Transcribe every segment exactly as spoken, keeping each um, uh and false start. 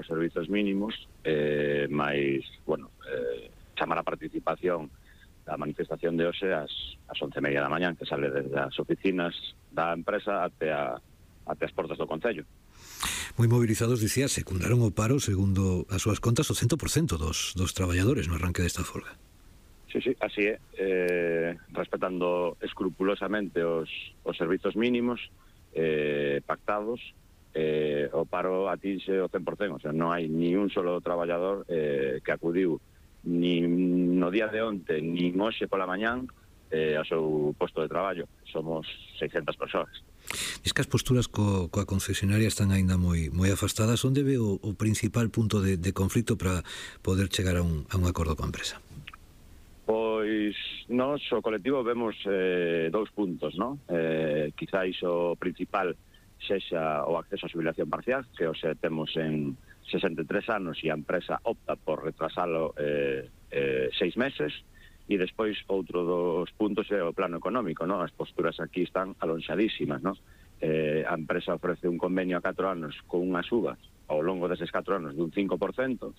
os servizos mínimos, eh, máis, bueno, eh, chamar a participación da manifestación de hoxe ás, ás once e media da mañán, que sale desde as oficinas da empresa até, a, até as portas do Concello. Moi movilizados, dicía, secundaron o paro, segundo as súas contas, o cento por cento dos, dos traballadores no arranque desta folga. Sí, sí, así é, eh, respetando escrupulosamente os, os servizos mínimos eh, pactados, eh, o paro atinxe o cen por cento, o sea, non hai ni un solo traballador eh, que acudiu ni no día de onte, ni hoxe pola mañán eh, ao seu posto de traballo. Somos seiscentas persoas. Diz que as posturas co, coa concesionaria están aínda moi moi afastadas. Onde ve o, o principal punto de, de conflito para poder chegar a un, a un acordo coa empresa? Pois nós, o colectivo, vemos eh, dous puntos, non? Eh, quizáis o principal sexa o acceso a xubilación parcial, que hoxe temos en sesenta e tres anos e a empresa opta por retrasalo eh, eh, seis meses, e despois outro dos puntos é o plano económico, non? As posturas aquí están alonxadísimas, non? Eh, a empresa ofrece un convenio a catro anos con unha suba ao longo deses catro anos dun cinco por cento,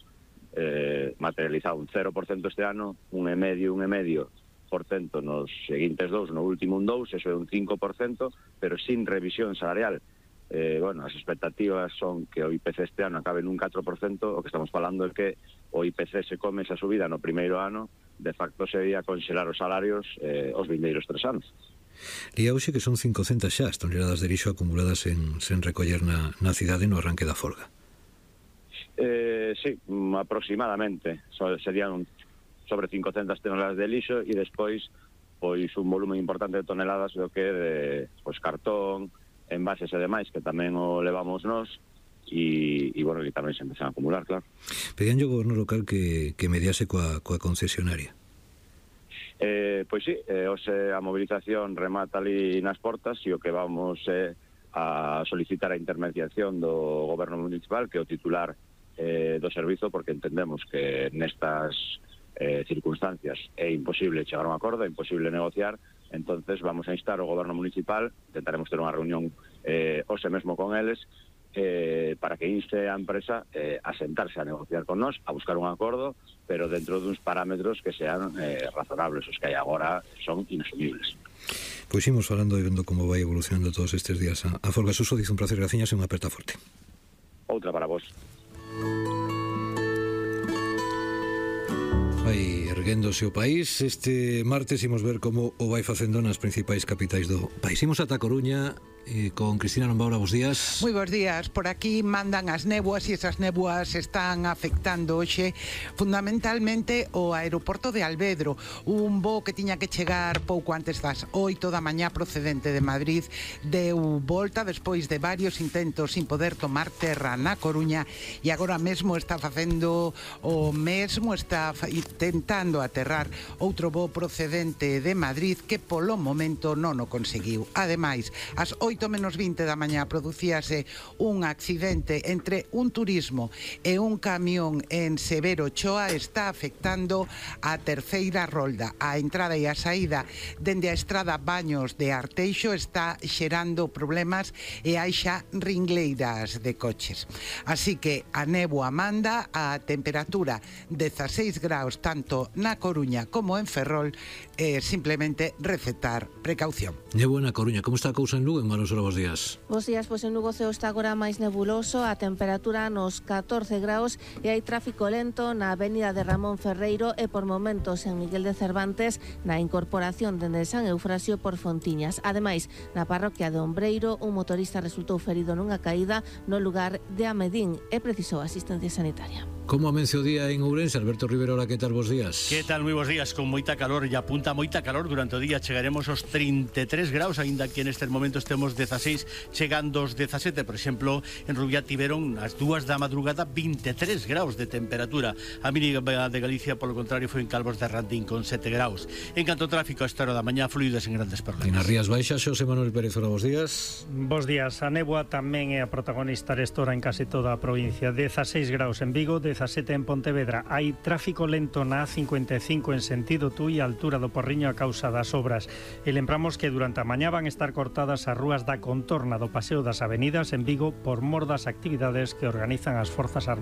eh, materializado un cero por cento este ano, un e medio, un e medio por cento nos seguintes dous, no último un dous, eso é un cinco por cento, pero sin revisión salarial. Eh, bueno, as expectativas son que o I P C este ano acabe nun catro por cento, o que estamos falando é que o I P C se come esa subida no primeiro ano, de facto sería conxelar os salarios eh, os vindeiros tres anos. Lía hoxe que son cincocentas xa as toneladas de lixo acumuladas en, sen recoller na, na cidade no arranque da folga. Eh, sí, aproximadamente. So, serían sobre cincocentas toneladas de lixo e despois pois un volumen importante de toneladas do que de pois, cartón, envases e demais, que tamén o levamos nós, e, e bueno, que tamén se empezan a acumular, claro. Pedían o goberno local que, que mediase coa, coa concesionaria. Eh, pois sí, eh, hoxe a movilización remata ali nas portas e o que vamos é eh, a solicitar a intermediación do goberno municipal, que é o titular eh, do servizo, porque entendemos que nestas eh, circunstancias é imposible chegar a un acordo, é imposible negociar. Entonces vamos a instar ao goberno municipal, intentaremos ter unha reunión eh, hoxe mesmo con eles, eh, para que inste a empresa eh, a sentarse a negociar con nós, a buscar un acordo, pero dentro duns parámetros que sean eh, razonables. Os que hai agora son inasumibles. Pois imos falando e vendo como vai evolucionando todos estes días a, a folga. Suso, dice un placer, graciñas e unha aperta forte. Outra para vos. Vai erguéndose o país. Este martes imos ver como o vai facendo nas principais capitais do país. Imos ata Coruña eh, con Cristina Nombaura. Bos días. Moi bons días. Por aquí mandan as néboas e esas néboas están afectando hoxe fundamentalmente o aeroporto de Alvedro. Un voo que tiña que chegar pouco antes das oito da mañá procedente de Madrid deu volta despois de varios intentos sin poder tomar terra na Coruña e agora mesmo está facendo o mesmo, está intentando aterrar outro voo procedente de Madrid que polo momento non o conseguiu. Ademais, ás oito menos vinte da mañá producíase un accidente entre un turismo e un camión en Severo Ochoa. Está afectando a terceira rolda. A entrada e a saída dende a estrada Baños de Arteixo está xerando problemas e hai xa ringleiras de coches. Así que a néboa manda, a temperatura dezaseis graus tanto na Coruña como en Ferrol, eh, simplemente recetar precaución. Néboa na Coruña. Como está a cousa en Lugo? En Manos, bos días. Bos días, pois en Lugo ceo está agora máis nebuloso, a temperatura nos catorce graus e hai tráfico lento na avenida de Ramón Ferreiro e por momentos en Miguel de Cervantes na incorporación dende San Eufrasio por Fontiñas. Ademais, na parroquia de Ombreiro, un motorista resultou ferido nunha caída no lugar de Amedín e precisou asistencia sanitaria. Como amence o día en Ourense? Alberto Rivero, hola, que tal, bos días? Que tal, moi bos días, con moita calor, e apunta moita calor durante o día. Chegaremos aos trinta e tres graus, aínda que nestes momentos temos dezaseis, chegando aos dezasete. Por exemplo, en Rubiá tiveron as dúas da madrugada vinte e tres graus de temperatura. A mínima de Galicia, polo contrario, foi en Calvos de Randín con sete graus. En canto ao tráfico, a esta hora da mañá, fluidas en grandes problemas. En as Rías Baixas, Xosé Manuel Pérez, hola, bos días. Bos días. A néboa tamén é a protagonista desta hora en case toda a provincia. dezaseis graus en Vigo, dezasete en Pontevedra. Hai tráfico lento na A cincuenta e cinco en sentido Tui, a altura do Porriño a causa das obras. E lembramos que durante a mañá van estar cortadas as rúas da contorna do Paseo das Avenidas en Vigo por mor das actividades que organizan as Forzas Armadas.